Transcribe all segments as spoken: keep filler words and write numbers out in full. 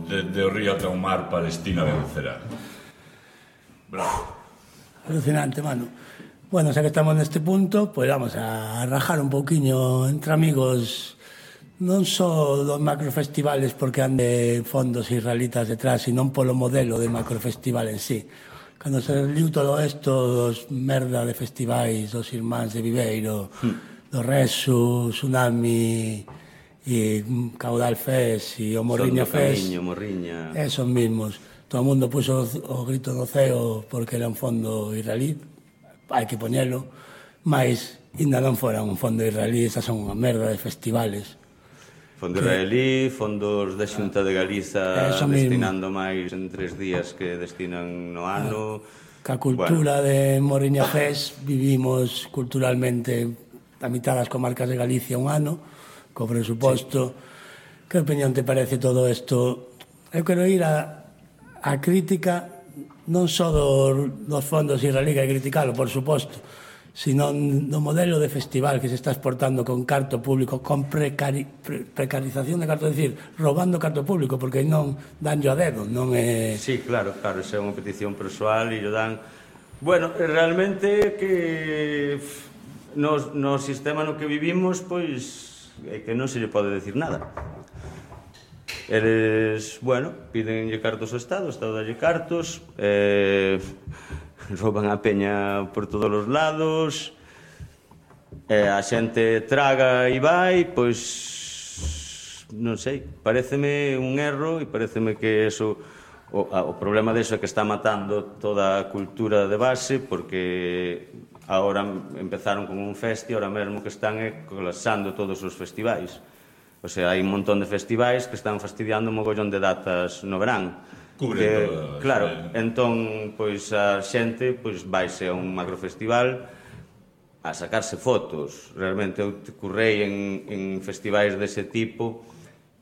desde o río ata o mar, Palestina vencerá. Bravo. Alucinante, mano. Bueno, xa que estamos neste punto, pois vamos a rajar un pouquiño entre amigos, non só dos macrofestivales porque ande fondos israelitas detrás, sino polo modelo de macrofestival en sí. Cando se liu todo isto dos merda de festivais, dos Irmáns de Viveiro, mm. do Resu, Tsunami e Caudal Fest e o Morriña Fest, Camiño, Morriña, esos mismos. Todo o mundo puso o grito no ceo porque era un fondo israelí, hai que poñelo, mas ainda non fora un fondo israelí, esas son unha merda de festivales. Fondo israelí, fondos da Xunta de Galiza destinando máis en tres días que destinan no ano. Que a cultura bueno. de Morriña Fest vivimos culturalmente a mitad das comarcas de Galicia un ano, co presuposto. Sí. Que opinión te parece todo isto? Eu quero ir a, a crítica non só dos, dos fondos israelí, que hai que criticalo, por suposto, sino do modelo de festival que se está exportando con carto público, con precari, pre, precarización de carto, é dicir, robando carto público, porque non danllo a dedo, non é... Sí, claro, claro, esa é unha petición persoal e o dan... Bueno, realmente que no, no sistema no que vivimos, pois, é que non se lle pode decir nada. Eles, bueno, pídenlle cartos ao Estado, o Estado dalle cartos, eh... rouban a peña por todos os lados, e a xente traga e vai, pois non sei, paréceme un erro e paréceme que eso, o, o problema deso é que está matando toda a cultura de base, porque agora empezaron con un festi, ahora mesmo que están é colapsando todos os festivais. O sea, hai un montón de festivais que están fastidiando un mogollón de datas no verán. Cubre que, todo, claro, sí. Entón, pois a xente pois vaise a un macrofestival a sacarse fotos. Realmente eu currei en, en festivais dese tipo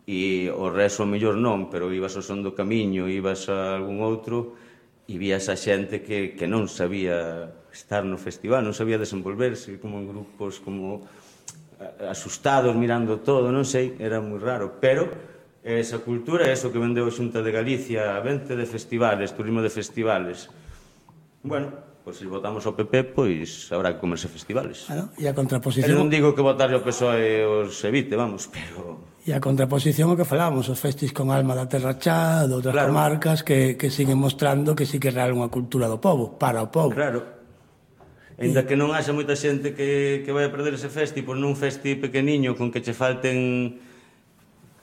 e o resto mellor non, pero ibas ao Son do Camiño, ibas a algún outro e vías a xente que, que non sabía estar no festival, non sabía desenvolverse, como en grupos, como asustados mirando todo, non sei, era moi raro, pero esa cultura, eso que vendeu a Xunta de Galicia, vente de festivales, turismo de festivales. Bueno, pois se votamos ao P P, pois habrá que comerse festivales. Bueno, e a contraposición... Eu non digo que votarle ao P S O E os evite, vamos, pero... E a contraposición o que falábamos, os festis con alma da terra chá, de outras claro. comarcas, que, que siguen mostrando que sí que é real unha cultura do povo, para o povo. Claro. Ainda que non haxa moita xente que, que vai a perder ese festi, por nun festi pequeniño con que che falten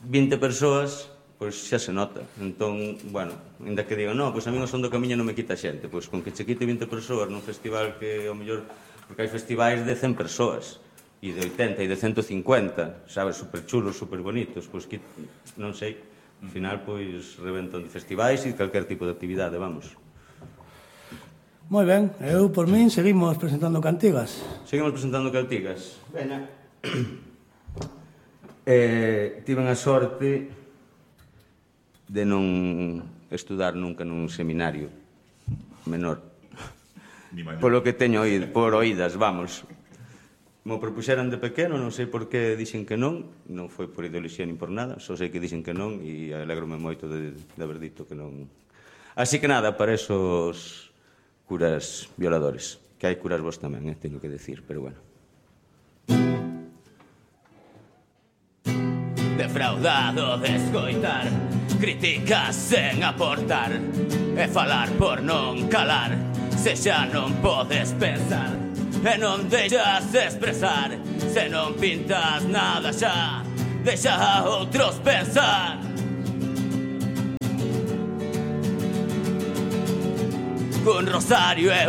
vinte persoas, pois xa se nota. Entón, bueno, ainda que digan, no, pois a mí o Son do Camiño non me quita xente, pois con que che quite vinte persoas nun festival que, ao mellor, porque hai festivais de cen persoas, e de oitenta, e de ciento cincuenta, sabes, super chulos, super bonitos, pois que, non sei, ao final, pois, reventan de festivais e calquer tipo de actividade, vamos. Moi ben, eu, por min, seguimos presentando cantigas. Seguimos presentando cantigas. Veña. Eh, tiven a sorte de non estudar nunca nun seminario menor, polo que teño oído, por oídas, vamos. Mo propuxeran de pequeno, non sei por que dixen que non, non foi por ideoloxía nin por nada, só sei que dixen que non e alegrome moito de, de haber dito que non. Así que nada, para esos curas violadores, que hai curas vos tamén, eh, teño que decir, pero bueno. Defraudado de escoitar críticas sen aportar e falar por non calar, se xa non podes pensar e non deixas expresar, se non pintas nada xa, deixa a outros pensar. Cun rosario e un